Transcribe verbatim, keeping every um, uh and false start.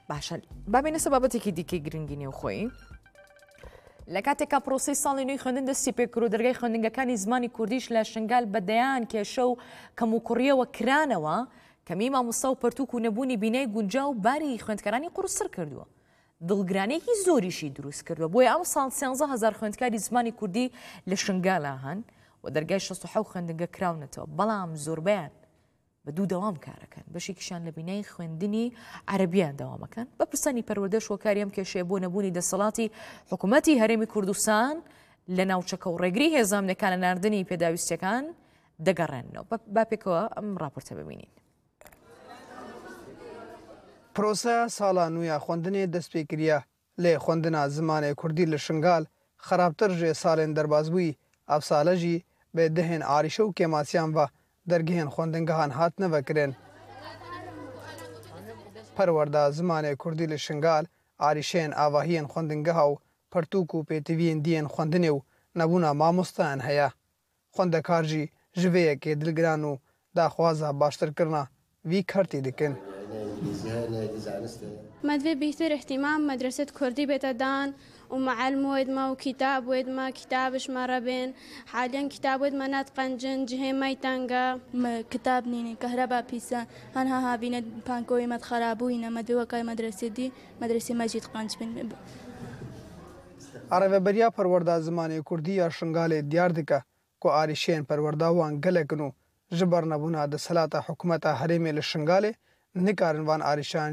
باشە، بابێنە سەر بابەتێکی دیکەی گرنگی نێوخۆیی. لە کاتێکا پرۆسەی ساڵی نوێی خوێندن دەستی پێ کرد و دەرگای خوێندنگەکانی زمانی کوردیش لە شنگال بە دەیان کێشە و کەم و کوڕیەوە کرانەوە، کەمی مامۆستا و پەرتووک و نەبوونی بینای گونجاو باری خوێندکارانی قورسڕ کردووە. دڵگرانێکی زۆریشی دروست کردووە. بۆیە ئەم ساڵ سیانزە هەزار خوێندکاری زمانی کوردی لە شنگالا هەن و دەرگای شەست و حەوت خوێندنگە کراونەتەوە، بەڵام زۆربەیان بە دوو دەوام کارەکەن. بەشێکیشیان لە بینای خوێندنی عەرەبیان دەوامەکەن. بەپرسانی پەروەردەش هۆکاری ئەم کێشەیە بۆ نەبوونی دەسەڵاتی حکوومەتی هەرێمی کوردستان لە ناوچەکە و ڕێگری هێزامنەکان لە ناردنی پێداویستیەکان دەگەڕێنەوە. بە-، با پێکەوە ئەم راپۆرتە ببینین. پرۆسەیا ساڵا نویا خوەندنێ دەست پێ کریە، لێ خوەندنا زمانێ کوردی لە شنگال خراپتر ژێ ساڵێن دەربازبووی، ئەفسالە ژی بێ دهێن ئاریشە و کێماسیان ڤە دەرگهێن خوەندنگەهان هاتنە ڤەکرێن. پەروەردا زمانێ کوردی لە شنگال ئاریشەیەن ئاڤاهیەن خوەندنگەها و پەرتووک و پێتیڤیەن دیەن خوەندنێ و نەبوونا مامۆستایان هەیە. خوەندەکار ژی ژ vê yekê dilgiran û daxwaza baştirkirina vî kertî dikin. Me divê bîhtir îhtîmam medreset kurdî bête dan û meelm wêdme û kitab wêdme, kitab ji me re bên. Haliyen kitab wêdme nediqencin, cihê me yî teng e. Me kitab nîne, kehreba pîs e. Hanha havîne pankoyê me dixerabûyîne, me divê wekay medresê dî, medresê me jî diqenc bin. A Rêveberiya Perwerda Zimanê Kurdî ya Şingalê diyar dike ku arîşeyên perwerda wan gelek in û ji ber nebûna desthilata hikûmeta herêmê li Şingalê nikarin van arîşan